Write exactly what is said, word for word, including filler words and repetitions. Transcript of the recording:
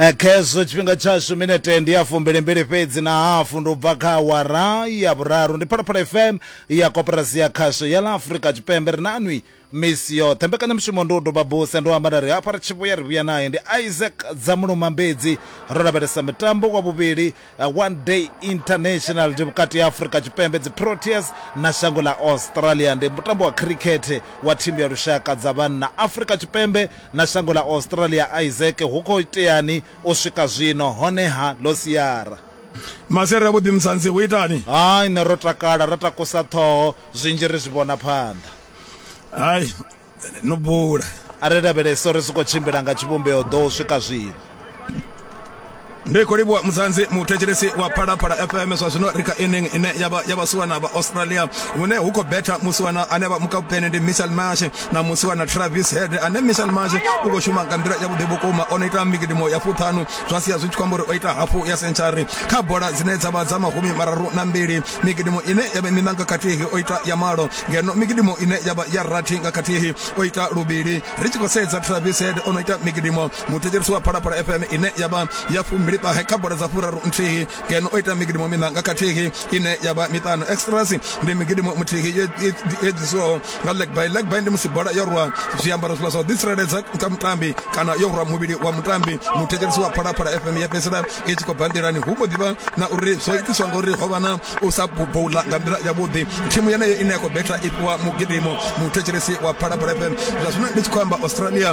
Eh, khezwo tshifhinga tshashu minete ndi ya fumbilimbili fhedzi na hafu ndi u bva kha awara ya vhuraru. Ndi Phalaphala F M ya Koporasi ya Khasho ya ḽa Afrika Tshipembe, ri nanwi misi yoṱhe. Mbekanyamushumo ndi u doba buse, ndo amba nda ri hafha ri tshi vhuya ri vhuya naye ndi Isaac Dzamulumambedzi. Ro lavhelesa mitambo wa vhuvhili, eh, one day international, ndi vhukati ha Afrika Tshipembe dzi Proteas na shango ḽa Australia. Ndi mutambo wa cricket wa thimu ya lushaka dza vhanna, Afrika Tshipembe na shango ḽa Australia. Isaac, hu khou iteani u swika zwino honeha ḽo siara? Masere avhuḓi, Musanzi, hu itani? Hai, nṋe ro takala, ro takusa ṱhoho, zwinzhi ri zwi vhona phanḓa. Hai, no bula. A ri lavhelese uri zwi khou tshimbila nga tshivhumbeo ḓo u swika zwino. Ndi khou livhuwa, Musanzi. Muthetshelesi wa Phalaphala F M, zwa zwino ri kha inning ine ya vha ya vhasiwana vha Australia, hune hu khou betha musiwana ane vha mukaputene ndi Mitchell Marsh na musiwana Travis Head, ane Mitchell Marsh u khou shuma nga nḓila yavhuḓi vhukuma. O no ita migidimo ya fuṱhanu, zwa sia zwi tshi khou amba uri o ita hafu ya century kha bola dzine dza vha dza mahumi mararu na mbili. Migidimo ine ya vha miṋa nga khathihi o ita ya malo, ngeno migidimo ine ya vha ya rathi nga khathihi o ita luvhili. Ri tshi khou sedza Travis Head, o no ita migidimo, muthetshelesi wa Phalaphala F M, ine ya vha ya fumbili ṱahe kha bola dza furaru nthihi, ngeno o ita migidimo miṋa nga khathihi ine ya vha miṱanu. Extras ndi migidimo muthihi yo yo ḓisiwaho nga leg bye. Leg bye ndi musi bola yo rwa zwiambaro zwiḽa zwa u ḓitsireledza kha mutambi kana yo rwa muvhili wa mutambi, muthetshelesi wa Phalaphala F M, ya fhedzisela i tshi khou bva nḓilani. Hu mbo ḓivha na uri zwo itiswa ngauri ho vha na u sa boula nga nḓila yavhuḓi. Thimu yeneyo ine ya khou betha i fhiwa mugidimo, muthetshelesi wa Phalaphala F M. Zwa zwino ndi tshi khou amba, Australia